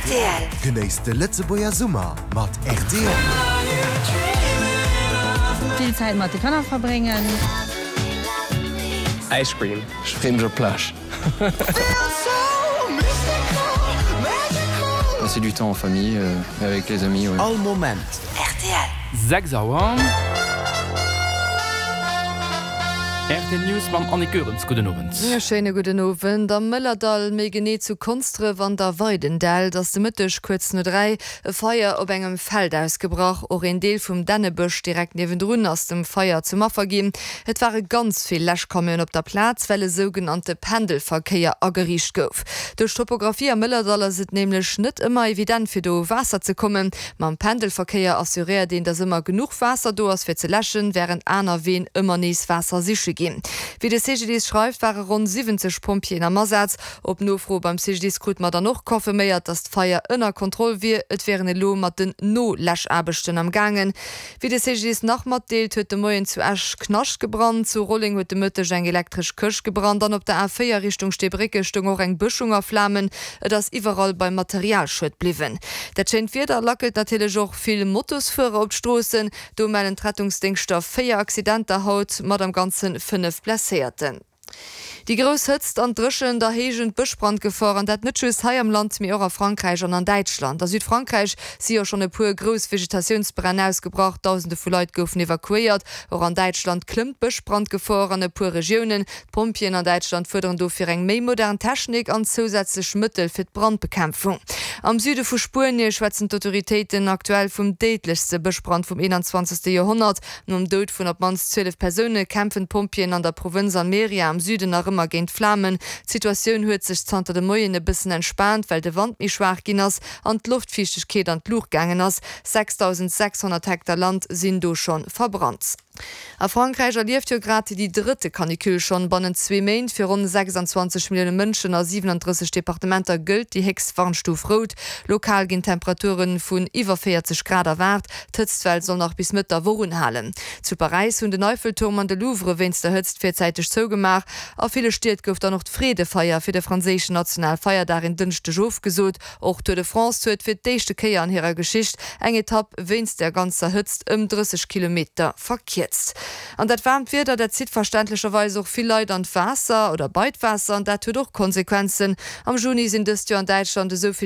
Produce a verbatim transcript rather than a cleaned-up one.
Rtl. Genéisst de Lëtzebuerger Summer mat rtl. Vill Zäit mat de Kanner verbréngen. Ice cream. Ech freeë mech op d'Plage. Passer du temps en famille et avec les amis, ouais. All Moment. Rtl. Sechs Auer. Rtl News mam Annick Goerens. Gudden Owend. E schéine gudden Owend. Am Mëllerdall, méi genee zu Konsdref an der Weidendält, ass de Mëtteg kuerz no dräi e Feier op engem Feld ausgebrach. Och een Deel vum Dännebësch direkt niewendrun ass dem Feier zum Affer ginn. Et ware ganz vill Läschcamionen op der Plaz, well e sougenannte Pendelverkéier ageriicht gouf. Duerch d'Topographie am Mëllerdall ass et nämlech net ëmmer evident fir do u Waasser ze kommen. Mam Pendelverkéier assuréiert een, dass ëmmer genuch Waasser do ass fir ze läschen, wärend aner Ween ëmmer nees Waasser siche ginn. Wéi de C G D I S schreift, ware ronn siwwenzeg Pompjeeën am Asaz. Op Nofro beim C G D I S krute mer dann och confirméiert, datt d'Feier ënner Kontroll wier. Et wier een elo mat den No-Läschaarbechten am gaangen. Wéi de C G D I S nach matdeelt, huet de Moien zu Esch Knascht gebrannt. Zu Rolleng huet de Mëtteg eng elektresch Këscht gebrannt an op der A véier Richtung Steebrécke stoung och eng Bëschung a Flamen. Et ass iwwerall beim Materialschued bliwwen. Dat schéint Wieder lackelt natierlech och vill Motosfuerer op d'Stroossen. Do mellen d'Rettungsdéngschter véier Accidenter haut mat am Ganze fënnef Blesséierten. Déi grouss Hëtzt an d'Dréchent erhéijen d'Bëschbrandgefor, an dat net just hei am Land, mee och a Frankräich an an Däitschland. A Südfrankräich si jo schonn e puer grouss Vegetatiounsbränn ausgebrach, Dausende vu Leit goufen evakuéiert. Och an Däitschland klëmmt d'Bëschbrandgefor an e puer Regiounen. D'Pompjeeën an Däitschland fuerderen dofir eng méi modern Technik an zousätzlech Mëttel fir d'Brandbekämpfung. Am Süde vu Spuenie schwätzen d'Autoritéiten aktuell vum déidlechste Bëschbrand vum eenanzwanzegste Joerhonnert. Nom Doud vun op d'mannst zwielef Persoune kämpfen d'Pompjeeën an der Provënz Almeria am Süden nach ëmmer géint d'Flamen. D'Situatioun huet sech zanter de Moien e bëssen entspaant, well de Wand méi schwaach ginn ass an d'Loftfiichtegkeet an d'Luucht gaangen ass. sechsdausendsechshonnert Hektar Land sinn do scho verbrannt. A Frankräich erlieft jo grad déi drëtte Canicule schonn bannent zwee Méint. Fir ronn sechsanzwanzeg Millioune Mënschen a siwenandrësseg Departementer gëllt déi héchst Warnstuf rout. Lokal ginn Temperature vun iwwer véierzeg Grad erwaart. D'Hëtztwell soll nach bis Mëtt der Woch unhalen. Zu Paräis hunn den Eiffelturm an de Louvre wéinst der Hëtzt virzäiteg zougemaach. A ville Stied gouf dann och d'Freedefeier fir de franséischen Nationalfeierdag en Dënschdeg ofgesot. Och d'Tour de France huet fir d'éischte Kéier an hirer Geschicht eng Etapp wéinst der ganzer Hëtzt ëm drësseg Kilometer verkierzt. An dat waarmt Wieder, dat zitt verständlecherweis och vill Leit an d'Waasser oder bei d'Waasser an dat huet och Konsequenzen. Am Juni sinn dëst Joer an Däitschland esou vill.